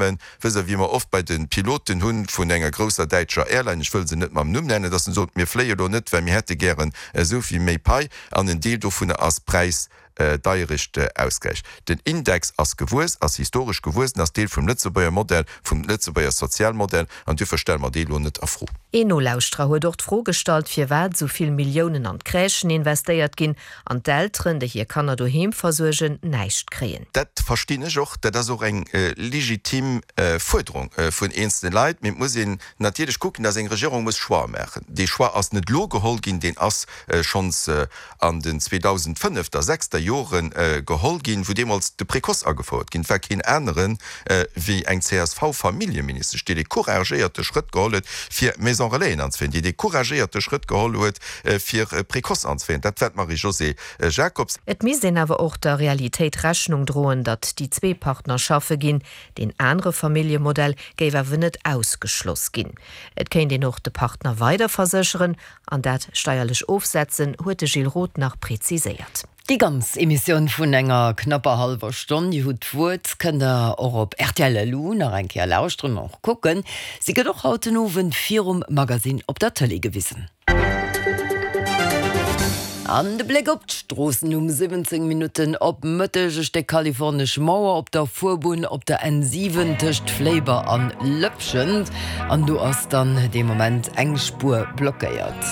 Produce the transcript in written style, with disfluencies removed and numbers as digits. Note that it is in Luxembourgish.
Firmen, wësst Der, wéi mer oft bei de Piloten hunn vun enger grousser däitscher Airline, ech wëll se net mam Numm nennen, dass en sot, mir fléie lo net, well mir hätte gären esou vill méi Pai, an en Deel dovunner ass Präisdeierecht Ausgläich. Den Index ass gewuess, ass historesch gewuessen, ass Deel vum Lëtzebuerger Modell, vum Lëtzebuerger Sozialmodell, an duerfir stelle mer dee lo net a Fro. Een Nolauschterer huet och d'Fro gestallt, firwat esou vill Milliounen an d'Crèchen investéiert ginn an d'Elteren, déi hir Kanner doheem versuergen, näischt kréien. Dat verstinn ech och. Dat ass och eng legitim Fuerderung vun eenzelne Leit. Mee et muss een natierlech kucken, dass eng Regierung muss Choixë maachen. Dee Choix ass net elo geholl ginn, deen ass schonns an den 2005 er, 6 er Jore geholl ginn, wou deemools de Précoce agefouert ginn. Et war keen anere wéi eng CSV-Familljeministesch, déi dee couragéierte Schrëtt geholl huet, fir Maison Relaisen anzeféieren, déi dee couragéierte Schrëtt geholl huet, fir Précoce anzeféieren. Dat war d'Marie-Josée Jacobs. Et misst een awer och der Realitéit Rechnung droen, datt déi zwee Partner schaffe ginn. Deen anere Familljemodell géif awer net ausgeschloss ginn. Et kéint een och de Partner weider versécheren An dat steierlech ofsetzen, huet de Gilles Roth nach preziséiert. Déi ganz Emissioun vun enger knapper hallwer Stonn, Dir hutt d'Wuert, kënnt der och op rtl LU nach eng Kéier lauschteren an och kucken. Si gëtt och haut den Owend virum Magasinn op der Tëlee gewisen. An de Bléck op d'Stroossen um 17 Minutten op Mëtteg, E Stéck kalifornesch Mauer op der Fuerbunn op der N7 tëscht Fléiber an Lëppschent. An do ass dann dee Moment eng Spuer blockéiert.